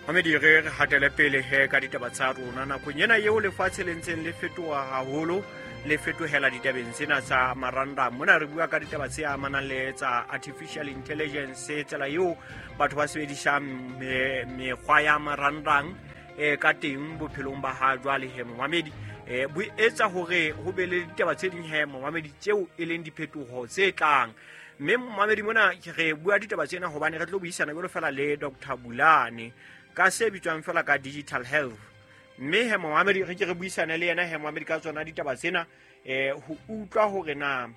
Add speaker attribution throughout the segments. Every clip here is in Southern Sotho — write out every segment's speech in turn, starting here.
Speaker 1: Mamedi, re re hatele pele he ka ditaba tsa rona nakong ena eo lefatshe le ntseng le fetoha haholo, le fetohela ditabeng tsena tsa marangrang. Mona re bua ka ditaba tse amanang le tsa artificial intelligence, tsela eo batho ba sebedisang mekgwa ya marangrang ka teng bophelong ba ha jwale he momamedi. Bo etsa hore ho be le ditaba tse ding he momamedi tseo e leng diphetoho tse tlang. Mme momamedi, mona re bua ditaba tsena hobane re tlo buisana jwalo fela le Dr Bulane ka se bitswang fela ka digital health. Mme he momamedi, re ke re buisane le yena he momamedi ka tsona ditaba tsena, ho utlwa hore na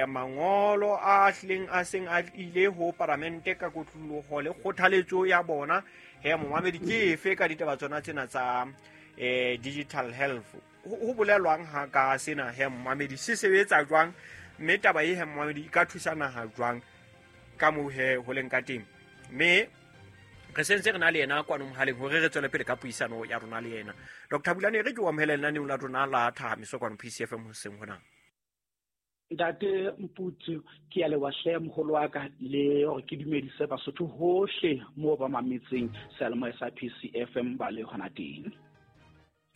Speaker 1: mangolo a hlileng a seng a ile ho paramente ka kotloloho le kgothaletso ya bona he momamedi ke efe ka ditaba tsona tsena tsa digital health. Ho bolelwang ha ka sena he momamedi, se sebetsa jwang, mme taba e he momamedi e ka thusa naha jwang ka moo he ho leng ka teng. Mme re sentse re na le yena kwano mohaleng hore re tswele pele ka puisano ya rona le yena. Dr Bulane, re ke o amohele lenaneong la rona la Thahamiso kwano PCFM hoseng hona.
Speaker 2: Ntate Mputsu, ke ya leboha hle moholo wa ka, le hore ke dumedise Basotho hohle moo ba mametseng seyalemoya sa PCFM ba le hona teng.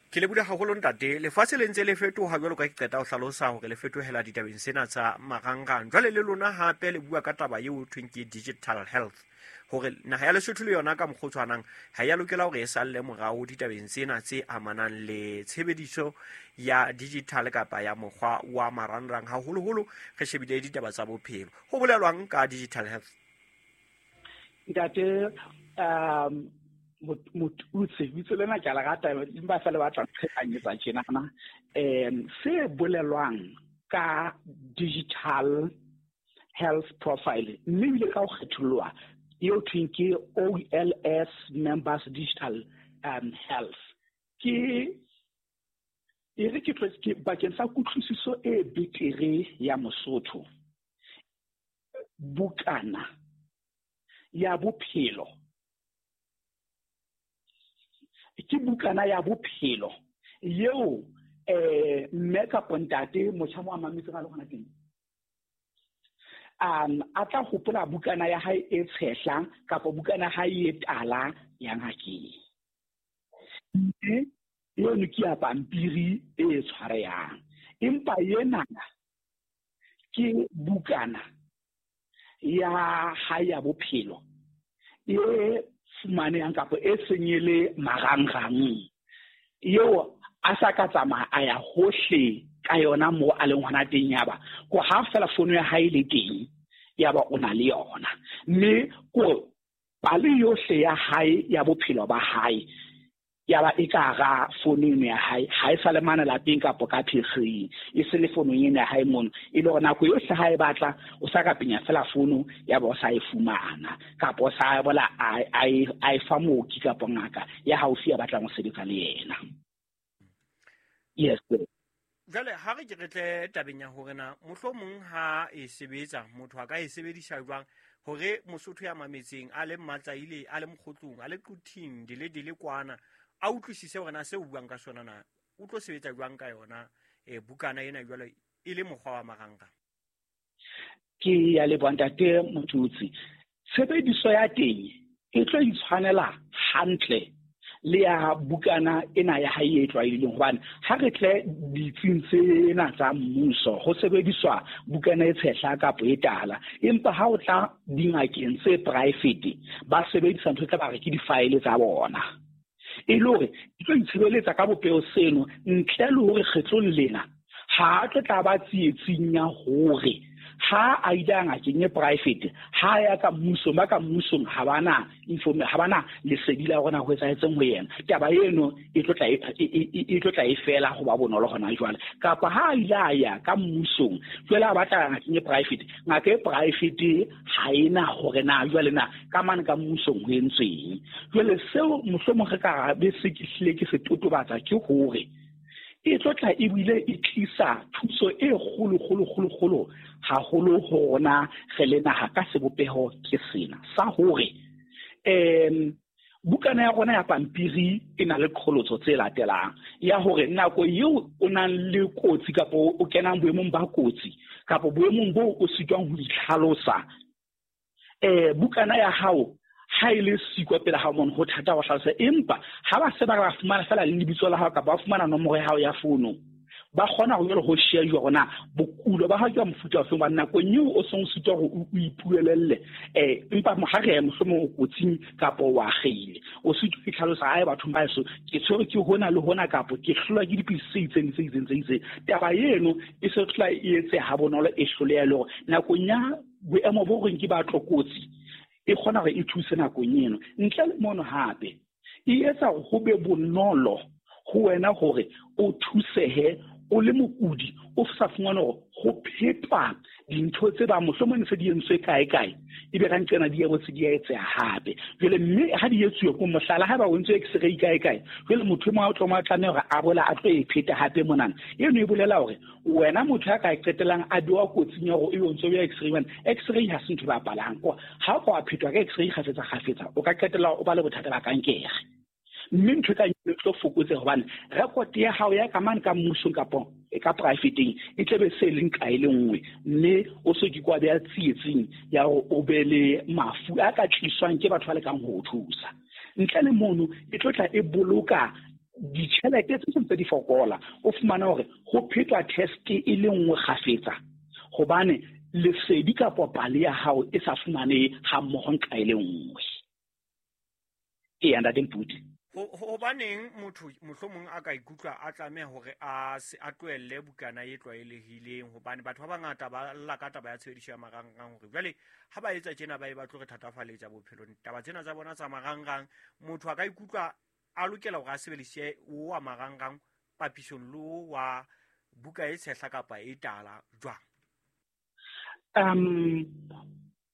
Speaker 1: Ke lebohile haholo ntate. Lefatshe le ntse le fetoha jwalo ka ke qeta ho hlalosa hore le fetohela ditabeng sena tsa marangrang. Jwale le lona hape le bua ka taba eo thweng ke digital health, hore naha ya Lesotho le yona ka mokgwa o tshwanang ha ya lokela hore e salle morao ditabeng tsena tse amanang le tshebediso ya digital kapa ya mokgwa wa marangrang, haholoholo re shebile ditaba tsa bophelo. Ho bolelwang ka digital health?
Speaker 2: Ntate Motutsi, bitso lena ke a le rata, empa feela ba tla nqhekanyetsa tjenana. Se bolelwang ka digital health profile, mme ebile ka ho kgetholloha eo thweng ke OLS members digital health, ke e re ke tlo ke bakeng sa kutlwisiso e betere ya Mosotho, bukana ya bophelo ke bukana ya bophelo eo mme kapa ntate motjha mo a mametseng a le hona teng, a tla hopola bukana ya hae e tshehla kapa bukana ya hae e tala ya ngakeng. Mme eno ke ya pampiri e tshwarehang, empa ena ke bukana ya hae ya bophelo e fumanehang kapa e seng e le marangrang, eo a sa ka tsamaya a ya hohle ka yona moo a leng hona teng. Yaba ko ha fela fono ya hae le teng, yaba o na le yona, mme ko pale yohle ya hae ya bophelo ba hae yaba e ka hara fono eno ya hae, ha e sa le mane lapeng kapa ka phekgeng, e se le fonong eno ya hae mono, e le hore nako yohle ha e batla o sa ka penya fela fono yaba o sa e fumana, kapa o sa bola a e fa mooki kapa ngaka ya haufi ya batlang ho sebetsa le yena. Yes.
Speaker 1: Jwale ha re ke re tle tabeng ya hore na mohlomong ha e sebetsa motho a ka e sebedisa jwang hore Mosotho ya mametseng a le Mmatsaile, a le Mokgotlong, a le Quthing, dile dile kwana, a utlwisise hore na seo o buang ka sona na o tlo sebetsa jwang ka yona bukana ena jwale e le mokgwa wa marangrang.
Speaker 2: Ke ya leboha ntate Motutsi. Tshebediso ya teng e tlo itshwanela hantle le ya bukana ena ya hae e tlwaelehileng, hobane ha re tle ditsing tsena tsa mmuso ho sebediswa bukana e tshehla kapa e tala, empa ha o tla dingakeng tse private ba sebedisa ntho tse ba re ke di-file tsa bona, e le hore e tlo itshebeletsa ka bopeho seno ntle le hore kgetlong lena ha a tlo tla ba tsietsing ya hore ha a ile a ngakeng e private, ha ya ka mmusong, ba ka mmusong ha bana informe, ha bana lesedi la hore na ho etsahetseng ho yena. Taba eno e tlo tla e tlo tla e fela ho ba bonolo hona jwale. Kapa ha a ile a ya ka mmusong, jwale a batla ngakeng e private, ngaka e private ha ena hore na jwale na ka mane ka mmusong ho entsweng. Jwale seo mohlomong re ka be se ke hlile ke se totobatsa ke hore e tlo tla ebile e tlisa thuso e kgolo, kgolo, kgolo, kgolo haholo ho rona re le naha ka sebopeho ke sena sa hore bukana ya rona ya pampiri e na le qholotso tse latelang ya hore nako eo o nang le kotsi kapa o kenang boemong ba kotsi kapa boemong boo o sitwang ho itlhalosa, bukana ya hao Ha e le siko pele ha mono ho thata ho hlalosa, empa ha ba se ba fumana fela le lebitso la hao kapa ba fumana nomoro ya hao ya fono, ba kgona ho jwale ho shejwa hore na bokulo ba hao ke ba mofuta ofe, hobane nakong eo o seng o sitwa hore o ipuelelle, empa ha re mohlomong o kotsing kapa o akgeile, o sitwa ho itlhalosa, ae bathong ba heso ke tshwerwe ke hona le hona kapa ke hlolwa ke dipidisi tse itseng tse itseng tse itseng. Taba eno e se tla e etseha ha bonolo, e hloleha le hore nakong ya boemo bo reng ke ba tlokotsi e kgona hore e thuse nakong eno. Ntle le mono hape e etsa hore ho be bonolo ho wena hore o thusehe o le mokudi, o sa fumane hore ho phetwa dintho tse bang mohlomong se di entswe kae kae, ebe ka nqena di ya botse di a etseha hape. Jwale mme ha di etsuwe ko mohlala, haeba o entswe x-ray kae kae, jwale motho e mong a tlo mo tlameha hore a bola a tlo e pheta hape monana. Eno e bolela hore wena motho ya ka qetellang a bewa kotsing ya hore e o ntso ya x-ray, hobane x-ray ha se ntho e bapalang. Ha o ka wa phetwa ka x-ray kgafetsa kgafetsa, o ka qetella o ba le bothata ba kankere. Mme ntho e ka e tlo fokotse hobane record ya hao ya ka mane ka mmusong kapa e ka private-eng e tlabe se leng ka e le nngwe, mme o se ke kwa beha tsietsing ya hore o be le mafu a ka tliswang ke batho ba lekang ho o thusa. Ntle le mono e tlo tla e boloka ditjhelete tse seng tse di fokola, o fumane hore ho phetwa test e le nngwe kgafetsa hobane lesedi kapa pale ya hao e sa fumane ha mmoho nqa e le nngwe. Eya, Ntate Mputi.
Speaker 1: Hobaneng motho mohlomong a ka ikutlwa a tlameha hore a se a tlohelle bukana e tlwaelehileng, hobane batho ba bangata ba lla ka taba ya tshebediso ya marangrang hore jwale ha ba etsa tjena ba e ba tlo re thatafaletsa bophelong. Taba tsena tsa bona tsa marangrang, motho a ka ikutlwa a lokela hore a sebedise o wa marangrang papisong le o wa buka e tshehla kapa e tala jwang?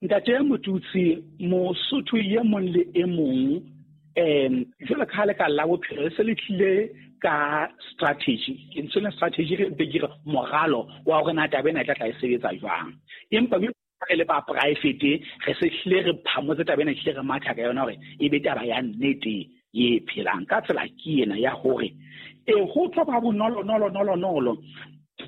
Speaker 2: Ntate Motutsi, Mosotho e mong le e mong, jwalo ka ha le ka la bophelo le se le tlile ka strategy, ke ntse le strategy re be ke re moralo wa hore na taba ena e tla tla e sebetsa jwang. Empa re le ba private re se hlile re phamotse taba ena, hlile re matha ka yona hore e be taba ya nnete e phelang. Ka tsela ke ena ya hore e ho tlo ba bonolo nolo nolo nolo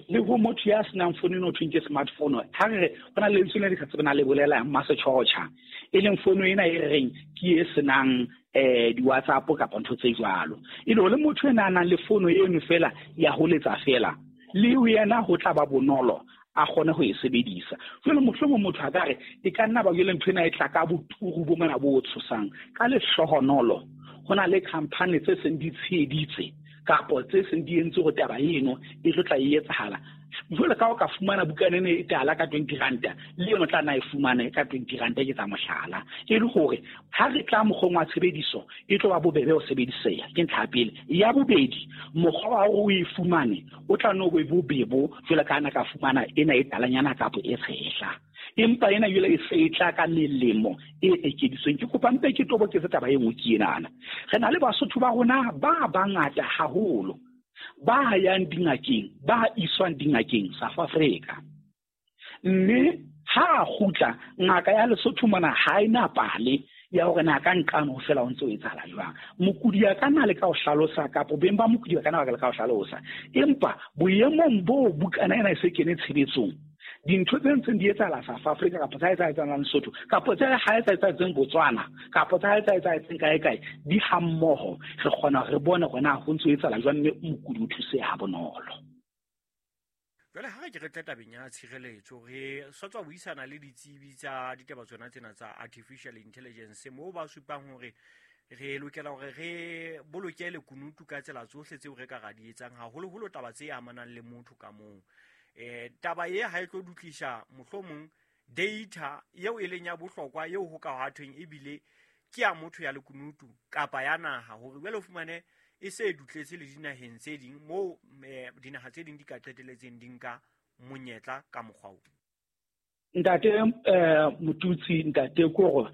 Speaker 2: le ho motho ya senang fono eno ho thweng ke smartphone. Ha re re ho na le lentswe le re sa tsebeng na le bolelang masetjhotjha, e leng fono ena e re reng ke e senang di-WhatsApp kapa ntho tse jwalo. E le hore le motho ena a nang le fono eno fela ya ho letsa fela, le yena ho tla ba bonolo a kgone ho e sebedisa. Jwale mohlomong motho a ka re e ka nna ba jwale ntho ena e tla ka boturu bo mona bo tshosang. Ka lehlohonolo ho na le company tse seng di tsheheditse kapa tse seng di entse hore taba eno e tlo tla e etsahala. Jwale ka o ka fumana bukana ena e tala ka 20 ranta, le yona o tla nna e fumane ka 20 ranta, ke tsa mohlala. E le hore ha re tla mokgweng wa tshebediso e tlo ba bobebe ho sebediseha, ke ntlha ya pele. Ya bobedi, mokgwa wa hore o e fumane o tla nno be bobebo jwalo ka ha na ka fumana ena e talanyana kapa e tshehla. Empa ena jwale e se e tla ka melemo e ekeditsweng. Ke kopa mpe ke toboketse taba e nngwe ke enana. Re na le Basotho ba rona ba bangata haholo ba yang dingakeng, ba iswang dingakeng South Africa. Mme ha a kgutla, ngaka ya Lesotho mona ha e na pale ya hore na ka nqane ho fela ho ntse ho etsahala jwang. Mokudi a ka nna le ka ho hlalosa, kapa beng ba mokudi ba ka nna ba ka ho hlalosa. Empa boemong boo bukana ena e se kene tshebetsong, dintho tse ntseng di etsahala South Africa kapa tsa etsahalang Lesotho kapa tse ha etsahatseng Botswana kapa tsa etsahatseng kae kae, di hammoho. Re kgona re bone hore na ho ntse ho etsahala jwang, mme mokudi o thuseha ha bonolo.
Speaker 1: Jwale ha re ke re tle tabeng ya tshireletso, re sa tswa buisana le ditsebi tsa ditaba tsona tsena tsa artificial intelligence, moo ba supang hore re lokela hore re boloke lekunutu ka tsela tsohle tseo re ka ra di etsang, haholoholo taba tse amanang le motho ka mong. Taba e ha e tlo dutlisa mohlomong data eo e leng ya bohlokwa eo ho ka ha thweng ebile ke ya motho ya lekunutu kapa ya naha, hore jwale o fumane e se dutletse le dinaheng tse ding moo dinaha tse ding di ka qeteletseng di nka monyetla ka mokgwa oo.
Speaker 2: Ntate Motutsi, ntate kore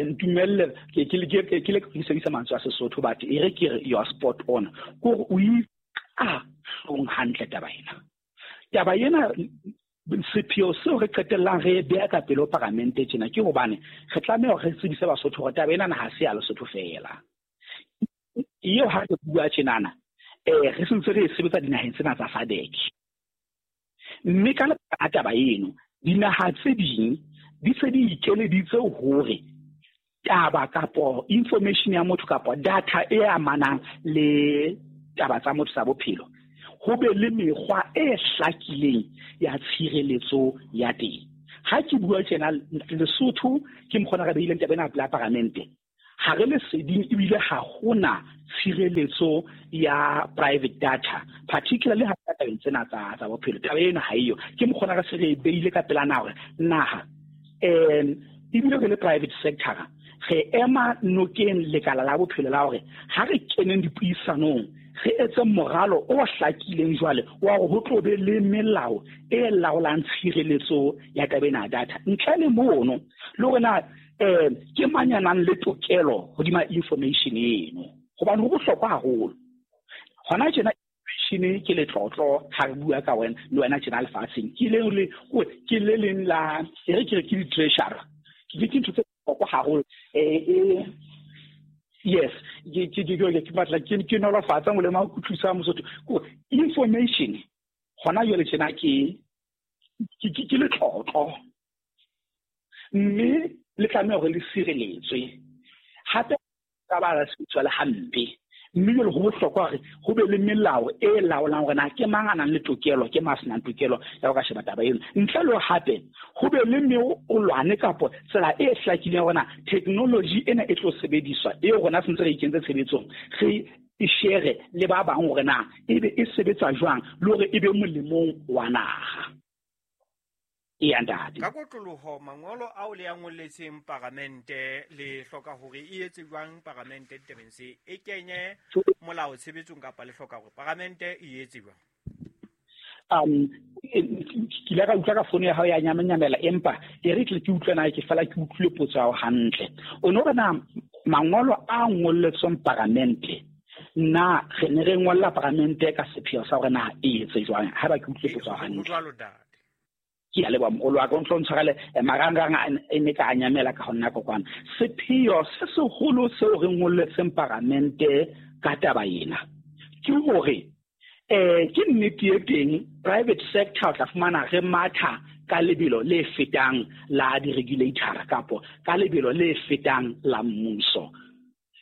Speaker 2: ntumelle ke le ke sebedisa mantswe a Sesotho, but e re ke re you are spot on. Kore o a hlong hantle taba ena. Taba ena sepheo seo re qetellang re beha ka pele ho paramente tjena ke hobane re tlameha hore re tsebise Basotho hore taba ena ha se ya Lesotho fela. Eo ha re bua tjenana, re sentse re e sebetsa dinaheng tsena tsa SADC. Mme ka lebaka la taba eno, dinaha tse ding di se di ikeleditse hore taba kapo information ya motho kapo data e amanang le taba tsa motho tsa bophelo, ho be le mekgwa e hlakileng ya tshireletso ya teng. Ha ke bua tjena Lesotho ke mokgona re beileng taba ena pela paramente, ha re leseding ebile ha hona tshireletso ya private data, particularly ha tabeng tsena tsa bophelo. Taba ena ha eyo, ke mokgona re se re beile ka pela naha hore naha ebile re le private sector re ema nokeng lekala la bophelo la hore ha re keneng dipuisanong re etse moralo o hlakileng jwale wa hore ho tlo be le melao e laolang tshireletso ya taba ena ya data. Ntle le mono le hore na ke mang ya nang le tokelo hodima information eno, hobane ho bohlokwa haholo. Hona tjena information ke letlotlo ha re bua ka wena le wena tjena lefatsheng, ke le ke le leng la e re ke re ke di-treasurer, ke ntho tse bohlokwa haholo. Yes, ke batla ke nolofatsa molemo wa kutlwisa Mosotho. Ko information hona jwale tjena ke letlotlo, mme le tlameha hore le sireletswe. Hape ka ba la sebediswa le hampe, mme jwale ho bohlokwa hore ho be le melao e laolang hore na ke mang a nang le tokelo, ke mang a senang tokelo ya ho ka sheba taba eno. Ntle le hape ho be le meolwane kapo tsela e hlakileng hore na technology ena e tlo sebediswa eo rona sentse re ikentse tshebetsong, re e share le ba bang hore na ebe e sebetsa jwang le hore e be molemong wa naha. Eya ntate.
Speaker 1: Ka kotloloho mangolo ao le a ngolletseng paramente le hloka hore e etse jwang paramente ditabeng se e kenye molao tshebetsong, kapa le hloka hore paramente e etse jwang?
Speaker 2: Ke ile ka utlwa ka fono ya hao ya nyamanyamela, empa e re ke utlwe na ke fela ke utlwile potso ya hao hantle. O no re na mangolo a ngolletsweng paramente, na re ne re ngolla paramente ka sepheo sa hore na e etse jwang? Haeba ke utlwile potso ya hao hantle. Ke a leboha moholo wa ka, o ntlo ntshwarele marangrang e ne ka nyamela ka ho nna kokwana. Sepheo se seholo seo re ngolletseng paramente ka taba ena ke hore ke nnete e teng private sector o tla fumana re matha ka lebelo le fetang la di-regulator kapo ka lebelo le fetang la mmuso.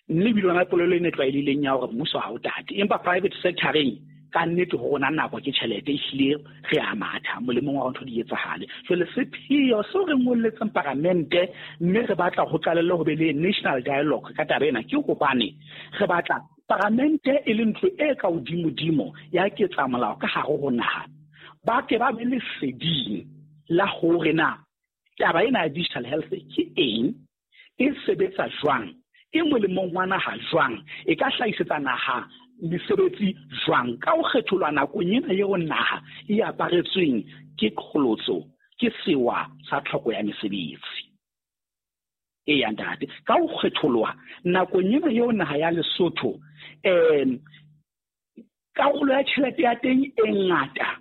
Speaker 2: Mme ebile yona polelo e ne tlwaelehileng ya hore mmuso ha o tate, empa private sector-eng ka nnete ho rona nako ke tjhelete, ehlile re a matha molemong wa ntho di etsahale. Jwale sepheo seo re ngolletseng paramente mme re batla ho qalelle ho be le national dialogue ka taba ena ke hobane re batla paramente e le ntlo e ka hodimodimo ya ketsamolao ka hare ho naha, ba ke ba be leseding la hore na taba ena ya digital health ke eng, e sebetsa jwang, e molemong wa naha jwang, e ka hlahisetsa naha mesebetsi jwang, ka ho kgetholwa nakong ena eo naha e aparetsweng ke qholotso, ke sewa sa tlhoko ya mesebetsi. Eya ntate, ka ho kgetholwa nakong ena eo naha ya Lesotho karolo ya tjhelete ya teng e ngata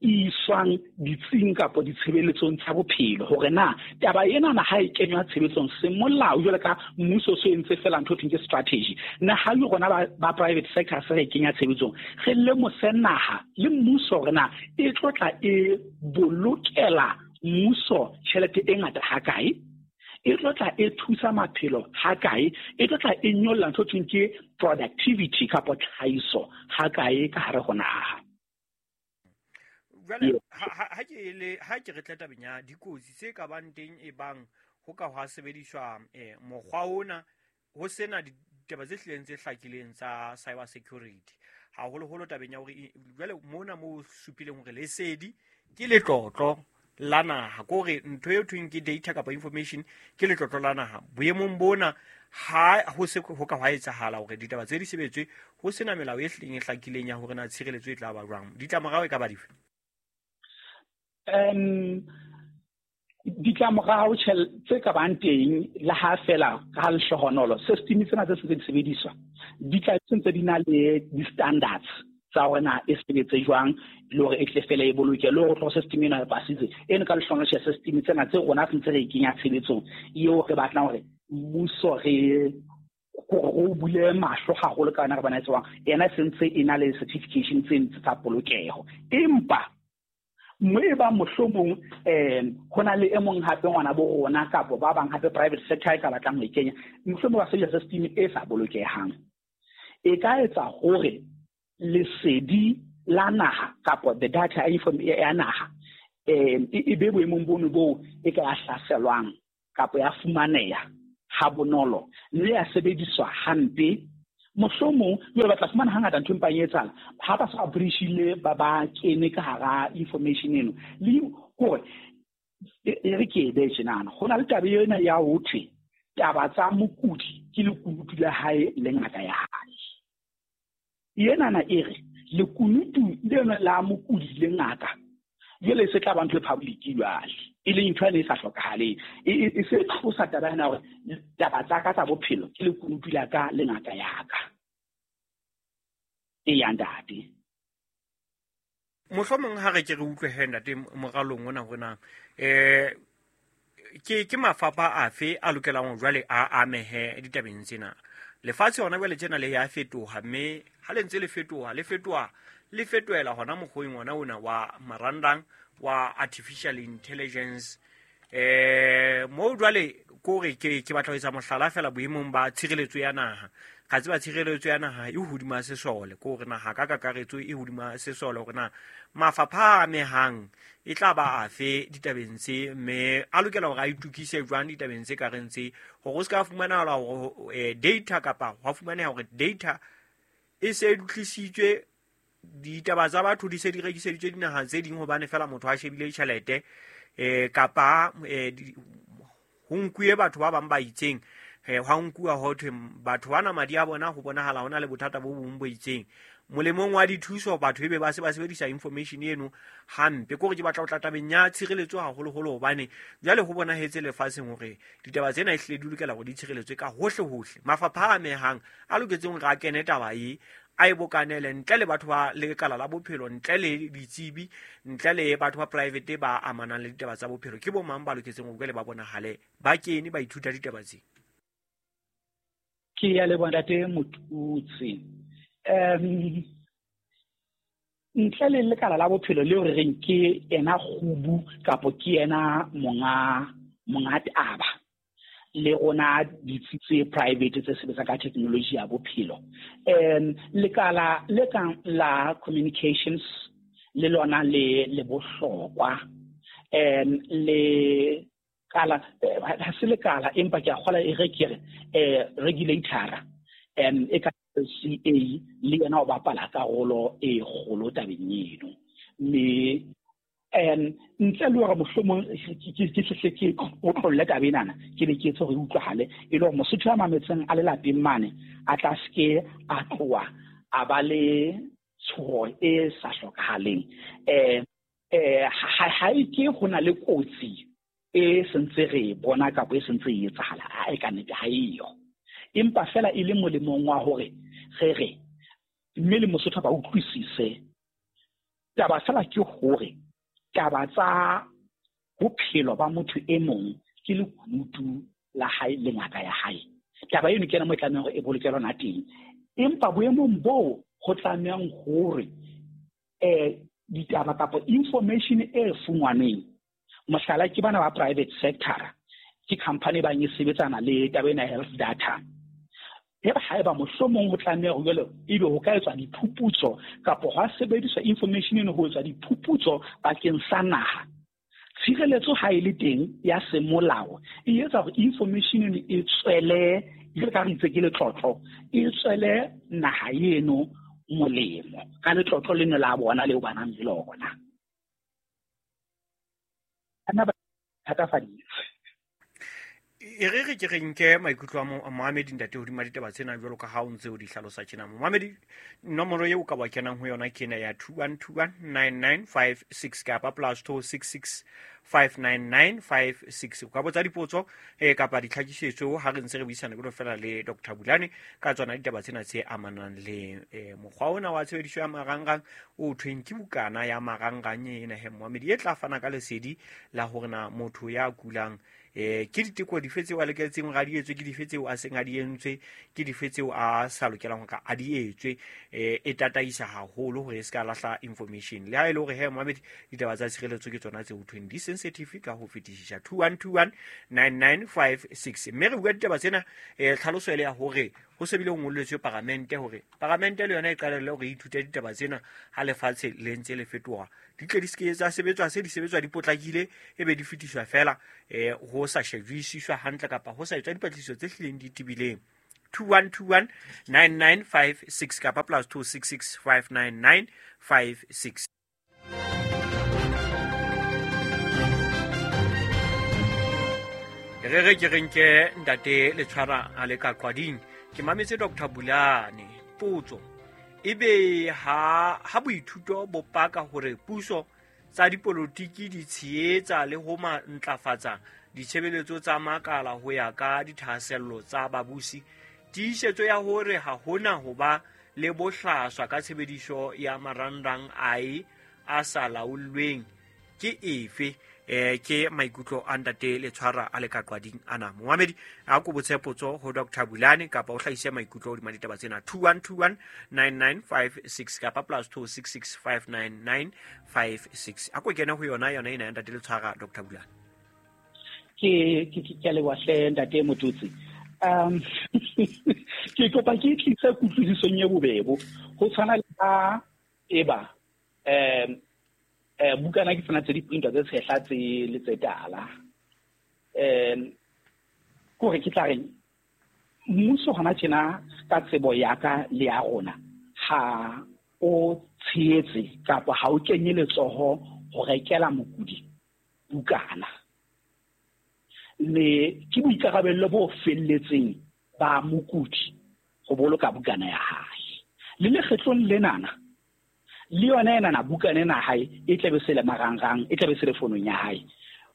Speaker 2: e iswang ditsing kapa ditshebeletsong tsa bophelo, hore na taba ena na ha e kenywa tshebetsong semolao jwalo ka mmuso so entse fela ntho thweng ke strategy, na ha le rona ba private sector se re kenya tshebetsong, re lemose naha le mmuso hore na e tlo tla e bolokela mmuso tjhelete e ngata hakae, e tlo tla e thusa maphelo hakae, e tlo tla e nyolla ntho thweng ke productivity kapa tlhahiso hakae ka hare ho naha.
Speaker 1: Jwale ha ke re tle tabeng ya dikotsi tse ka bang teng e bang ho ka hwa sebediswa mokgwa ona ho sena ditaba tse hlileng tse hlakileng tsa cyber security, haholoholo tabeng ya hore jwale mona mo supileng hore lesedi ke letlotlo la naha, ke hore ntho eo thweng ke data kapa information ke letlotlo la naha. Boemong bona ha ho se ho ka hwa etsahala hore ditaba tse di sebetswe ho sena melao e hlileng e hlakileng ya hore na tshireletso e tla ba jwang, ditlamorao e ka ba dife?
Speaker 2: Ditlamorao tse ka bang teng le ha fela ka lehlohonolo system tsena tse sentse di sebediswa di tla sentse di na le di-standards tsa hore na e sebetse jwang le hore e tle fela e boloke, le hore tlo system ena e pasitse eno ka lehlohonolo tjhe system tsena tse rona sentse re e kenya tshebetsong eo re batlang hore mmuso re o bule mahlo haholo ka yona re bona e tswang ena sentse e na le certification tse ntse tsa polokeho. Empa Mme ba mohlomong ho na le e mong hape ngwana bo rona kapa ba bang hape private sector e ka batlang ho e kenya, mohlomong ba sebedisa system e sa bolokehang, e ka etsa hore lesedi la naha kapa the data ya naha e be boemong bono boo e ka ya hlaselwang kapa ya fumaneha ha bonolo mme ya sebediswa hampe. Mohlomong jwale ba tla fumana hangata ntho e mpang e etsahala ha ba sa breachile, ba kene ka hara information eno. Le hore e re ke e behe tjenana, ho na le taba ena ya ho thwe taba tsa mokudi ke lekunutu la hae le ngaka ya hae. Enana e re lekunutu leno la mokudi le ngaka jwale e se tla ba ntho e public jwale, e leng ntho ene e sa hlokahaleng. E se tlosa taba ena hore taba tsa ka tsa bophelo ke lekunutu la ka le ngaka ya ka. Eya ntate.
Speaker 1: Mohlomong ha re ke re utlwe he ntate moralong ona hore na ke mafapha afe a lokelang ho jwale a amehe ditabeng tsena. Lefatshe hona jwale tjena le ya fetoha, mme ha le ntse le fetoha, le fetoha, le fetohela hona mokgweng ona ona wa marangrang wa artificial intelligence. Moo jwale kore ke batla ho etsa mohlala fela boemong ba tshireletso ya naha. Ga tseba tshireletso ya naha e hodima sesole, ke hore naha ka kakaretso e hodima sesole, hore na mafapha a amehang e tla ba afe ditabeng tse, mme a lokela hore a itukise jwang ditabeng tse ka reng tse, hore o se ka fumanahala hore data kapa hwa fumaneha hore data e se e dutlisitswe, ditaba tsa batho di se di rekiseditswe dinaha tse ding hobane fela motho a shebile tjhelete, kapa ho nkuwe batho ba bang ba itseng, hwa nkuwa ho thwe batho bana madi a bona ho bonahala hona le bothata bo bong bo itseng. Molemong wa dithuso batho ebe ba se ba sebedisa information eno hampe. Ke hore ke batla ho tla tabeng ya tshireletso haholoholo, hobane jwale ho bonahetse lefatsheng hore ditaba tsena ehlile di lokela hore di tshireletswe ka hohle hohle. Mafapha a amehang a loketseng hore a kene taba e, a e bokanele ntle le batho ba lekala la bophelo, ntle le ditsebi, ntle le batho ba private ba amanang le ditaba tsa bophelo. Ke bo mang ba loketseng hore jwale ba bonahale ba kene ba ithuta ditaba tse?
Speaker 2: Ke ya leboha ntate Motutsi. Ntle le lekala la bophelo leo re reng ke ena kgubu kapo ke ena monga taba, le rona ditsi tse private tse sebetsang ka technology ya bophelo, lekala le kang la communications le lona le bohlokwa. Le kala ha se lekala, empa ke a kgola e re ke re regulator e ka CA le yena o bapala karolo e kgolo tabeng eno. Mme ntle le hore mohlomong ke hle ke otlolle taba enana, ke be ke etse hore e utlwahale, e le hore Mosotho a mametseng a le lapeng mane a tla se ke a tloha a ba le tshoho e sa hlokahaleng. Ha e ke ho na le kotsi e sentse re bona kapa e sentse e etsahala, ha e ka nnete ha eyo. Empa fela e le molemong wa hore re re mme le Mosotho ba utlwisise taba fela ke hore taba tsa bophelo ba motho e mong ke lekunutu la hae le ngaka ya hae. Taba eno ke yona mo e tlamehang hore e bolokelwe hona teng. Empa boemong boo ho tlamehang hore ditaba kapa information e fumanweng, mohlala ke bana ba private sector, ke company bang e sebetsana le taba ena ya health data. Eba haeba mohlomong ho tlameha hore jwale ebe ho ka etswa diphuputso kapa hwa sebediswa information eno ho etswa diphuputso bakeng sa naha, tshireletso ha e le teng ya semolao e etsa hore information eno e tswele, jwalo ka re itse ke letlotlo, e tswele naha eno molemo ka letlotlo leno la bona leo ba nang le lona. Ana ba thatafaditse.
Speaker 1: E re re ke re nke maikutlo a Mohamedi ntate hodima ditaba tsena jwalo ka ha o ntse o di hlalosa tjena. Mohamedi, nomoro eo ka ba kenang ho yona ke ena ya 21219956 kapa +266 59956. O ka botsa dipotso kapa ditlhakisetso ha re ntse re buisana jwalo fela le Dr. Bulane ka tsona ditaba tsena tse amanang le mokgwa ona wa tshebediso ya marangrang o thweng ke bukana ya marangrang ena he Mohamedi, e tla fana ka lesedi la hore na motho ya kulang Ke diteko dife tseo a loketseng hore a di etswe, ke dife tseo a seng a di entswe, ke dife tseo a sa lokelang hore a di etswe. E tataisa haholo hore e se ka lahla information. Le ha e le hore he momamedi, ditaba tsa tshireletso ke tsona tse ho thweng di sensitive ka ho fetisisa. 21219956. Mme re bua ditaba tsena, tlhaloso e le ya hore ho se bile ho ngolletswe paramente hore paramente le yona e qalelle hore e ithute ditaba tsena ha lefatshe le ntse le fetoha, di tle di se ke tsa sebetswa se di sebetswa di potlakile, e be di fetiswa fela, ho sa shebisiswa hantle kapa ho sa etswa dipatlisiso tse hlileng di tebileng. 21219956 kapa +266 59956. Re re ke re nke ntate Letshwara a le ka qwading. Ke mametse Dr. Bulane. Potso ebe ha boithuto bo paka hore puso tsa dipolotiki di tshehetsa le ho ntlafatsa ditshebeletso tsa makala ho ya ka dithahasello tsa babusi, tiisetso ya hore ha hona ho ba le bohlaswa ka tshebediso ya marangrang ae a sa laollweng ke efe? Ke maikutlo a ntate Letshwara a le ka qwading ana. Momamedi a ko botse potso ho Dr. Bulane kapa o hlahise maikutlo hodima ditaba tsena. 21219956 kapa +266 59956. A ko kene ho yona ena ya ntate Letshwara, Dr. Bulane.
Speaker 2: Ke ke leboha hle ntate Motutsi. Ke kopa ke tlise kutlwisisong e bobebo ho tshwana le ha eba bukana ke tsena tse di printwa tse tshehla tse le tse tala. Kore ke tla reng mmuso hona tjena ka tsebo ya ka le ya rona ha o tshehetse kapa ha o kenye letsoho ho rekela mokudi bukana. Mme ke boikarabello bo felletseng ba mokudi ho boloka bukana ya hae. Le lekgetlong lenana le yona enana bukana ena hae e tlabe se le marangrang, e tlabe se le fonong ya hae.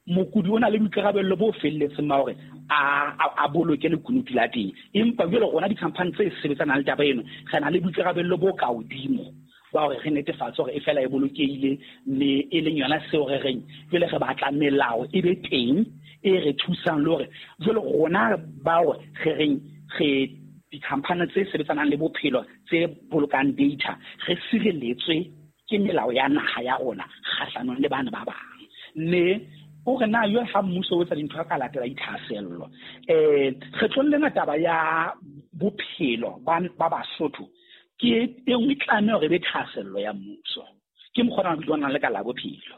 Speaker 2: Mokudi o na le boikarabello bo felletseng ba hore a boloke lekunutu la teng. Empa jwale rona di-company tse sebetsanang le taba eno, re na le boikarabello bo ka hodimo ba hore re netefatse hore e fela e bolokehile, mme e leng yona seo re reng jwale re batla melao e be teng e re thusang le hore jwale rona bao re reng re di-company tse sebetsanang le bophelo tse bolokang data re sireletswe ke melao ya naha ya rona kgahlanong le bana ba bang. Mme o re na yo ha mmuso o etsa dintho ka latela dithahasello. Kgetlong lena taba ya bophelo ba Basotho ke e nngwe tlameha hore e be thahasello ya mmuso. Ke mokgwa o nang le ka la bophelo.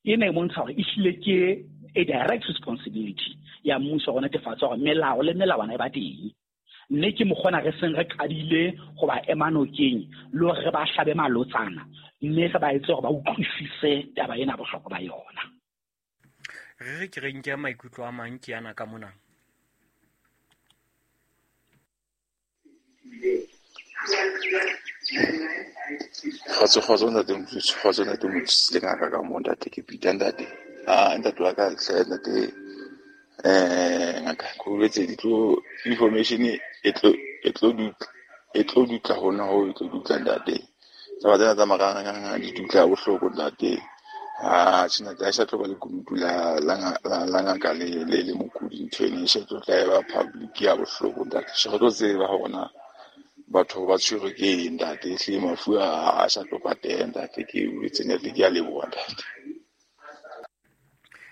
Speaker 2: Ena e bontsha hore ehlile ke a direct responsibility ya mmuso ho netefatsa hore melao le melawana e ba teng. Mme ke mokgona re seng re qadile ho ba ema nokeng le hore re ba hlabe malotsana, mme re ba etse hore ba utlwisise taba ena bohlokwa ba yona.
Speaker 1: Re re ke re nke maikutlo a mang ke ana ka mona.
Speaker 3: Kgotso ntate Motutsi, kgotso ntate Motutsi le ngaka ka mo ntate ke Peter ntate. Ntate wa ka hle ntate, ngaka ko boletse di tlo information e tlo dutla hona ho e tlo dutla ntate. Taba tsena tsa marangrang di dutla bohloko ntate. Tjhe ha sa tlo ba lekunutu la ngaka le mokudi, ntho ena e se tlo tla e ba public ya bohloko ntate. Se re tlo tseba hore na batho ba tshwerwe ke eng ntate, ehlile mafu a sa tlo pateha ntate. Ke boletse ntate, ke a leboha ntate.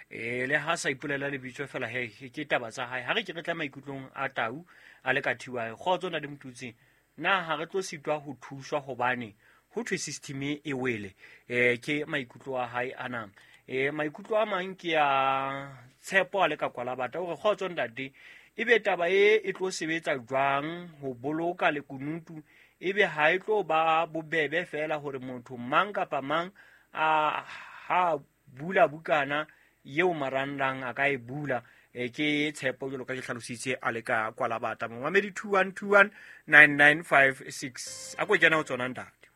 Speaker 1: Le ha sa ipolela lebitso fela he ke taba tsa hae. Ha re ke re tla maikutlong a tau a le ka thiwa kgotso na le Motutsi, na ha re tlo sitwa ho thuswa hobane ho thwe system e wele? Ke maikutlo a hae ana. Maikutlo a mang ke a Tshepo a le ka kwalabata hore kgotso ntate, ebe taba e tlo sebetsa jwang ho boloka lekunutu? Ebe ha e tlo ba bobebe fela hore motho mang kapa mang a ha bula bukana eo marangrang a ka e bula? Ke Tshepo jwalo ka ke hlalositse a le ka kwalabata. Momamedi 21219956 a ko kena ho tsona ntate.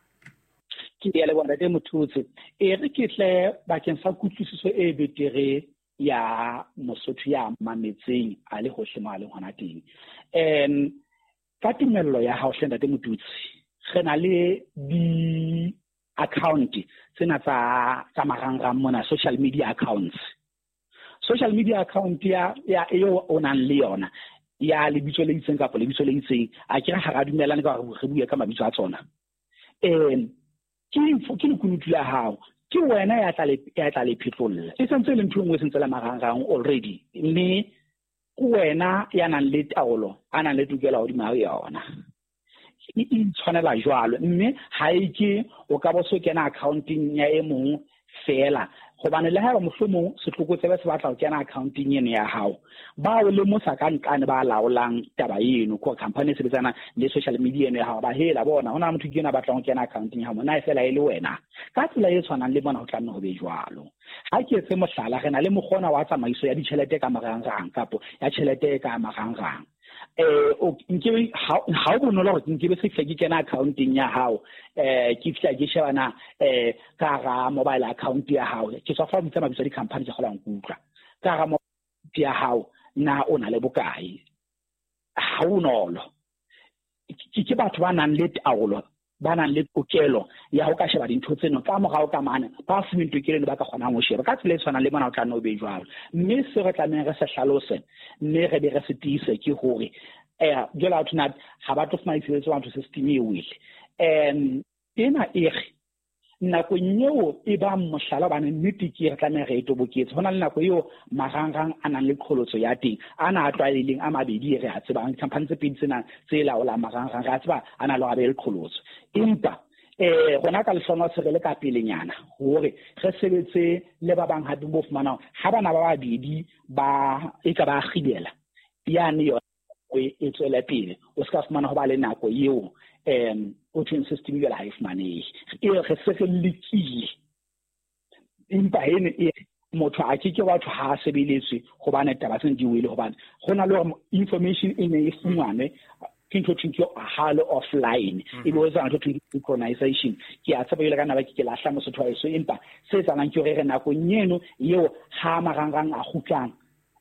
Speaker 2: Ke a leboha ntate Motutsi. E re ke tle bakeng sa kutlwisiso e betere ya Mosotho ya mametseng a le hohle mo a leng hona teng. Ka tumello ya hao hle ntate Motutsi, re na le di account tsena tsa marangrang mona, social media accounts. Social media account ya eo o nang le yona ya lebitso le itseng kapa lebitso le itseng, a ke re ha ra dumellane ka hore re bue ka mabitso a tsona. Ke lekunutu la hao, ke wena ya tla le phetlolla. E sentse le ntho e nngwe e sentse le marangrang already, mme ke wena ya nang le taolo, a nang le tokelo hodima yona. E itshwanela jwalo, mme ha e ke o ka bo so kena accounting ya e mong fela, hobane le haeba mohlomong setlokotsebe se batla ho kena accounting eno ya hao, ba o lemosa ka nqane ba laolang taba eno, ko company e sebetsana le social media eno ya hao, ba hela bona hona motho ke ena batlang ho kena accounting ya hao, na e fela e le wena. Ka tsela e tshwanang le bona ho tla nne ho be jwalo. Ha ke etse mohlala, re na le mokgona wa tsamaiso ya ditjhelete ka marangrang kapo ya tjhelete ka marangrang. Nke ha o bonolo hore nke be se ke kena accounting ya hao, ke fihla ke shebana ka hara mobile account ya hao, ke tswa fa bitsa mabitso a di-company ke kgolang ho utlwa ka hara mobile ya hao, na o na le bokae. Ha bonolo ke batho ba nang le taolo, ba nang le tokelo ya ho ka sheba dintho tseno ka morao ka mane, ba fuweng tokelo eno ba ka kgonang ho sheba. Ka tsela e tshwanang le mona ho tla nne ho be jwalo. Mme se re tlamehang re se hlalose, mme re be re se tiise ke hore jwale ha thona ha ba tlo fumana ditshebeletso batho system e wele. Ena e re nakong eo e bang mohlala, hobane nnete ke re tlameha re e toboketse. Ho na le nako eo marangrang a nang le qholotso ya teng, ana a tlwaelehileng a mabedi re a tsebang, di-company tse pedi tsena tse laolang marangrang re a tseba a na le hore a be le qholotso. Empa rona ka lehlohonolo se re le ka pelenyana hore re sebetse le ba bang hape bo fumanang ha bana ba babedi ba e ka ba kgibela yane yona e tswele pele, o ska fumana ho ba le nako eo o thweng system jwale ha e fumanehe. E re se re lekile, empa eno e motho a ke ke batho ha a sebeletswe hobane taba tsena di wele, hobane ho na le hore information e ne e fumanwe ke ntho thweng ke ha le offline, e be o etsa ntho thweng ke synchronization. Ke a tshepa jwale ka nna ke lahla mosotho wa heso, empa se etsahalang ke hore re nakong eno eo ha marangrang a kgutlang,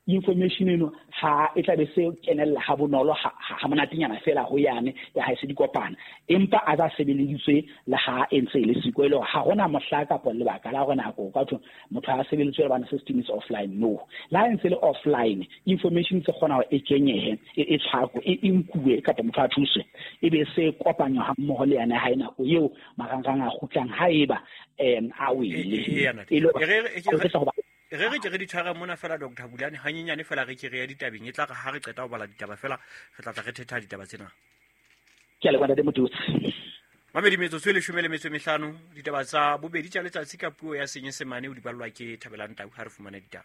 Speaker 2: information eno ha e tla be se kenella ha bonolo ha monatenyana fela ho yane ya ha e se di kopana, empa a tsa sebeleditswe le ha e ntse e le siko, e le hore ha hona mohla kapa lebaka la hore nako ka thwe motho ha sebeletswe hobane system is offline. No, le ha e ntse le offline, information se kgona hore e kenyehe, e tshwarwe, e nkuwe kapa motho a thuswe, e be se kopanywa ha mmoho le yane ha e nako eo marangrang a kgutlang haeba a wele. E le hore
Speaker 1: re re ke re di tshware mona fela Dr. Bulane hanyenyane fela re ke re ya ditabeng, e tla re ha re qeta ho bala ditaba fela re tla tla re thetha ditaba tsena.
Speaker 2: Ke a leboha ntate Motutsi.
Speaker 1: Mamedi metsotso e 15, ditaba tsa bobedi tsa letsatsi ka puo ya Senyesemane o di ballwa ke Thabelang Tau. Ha re fumane ditaba.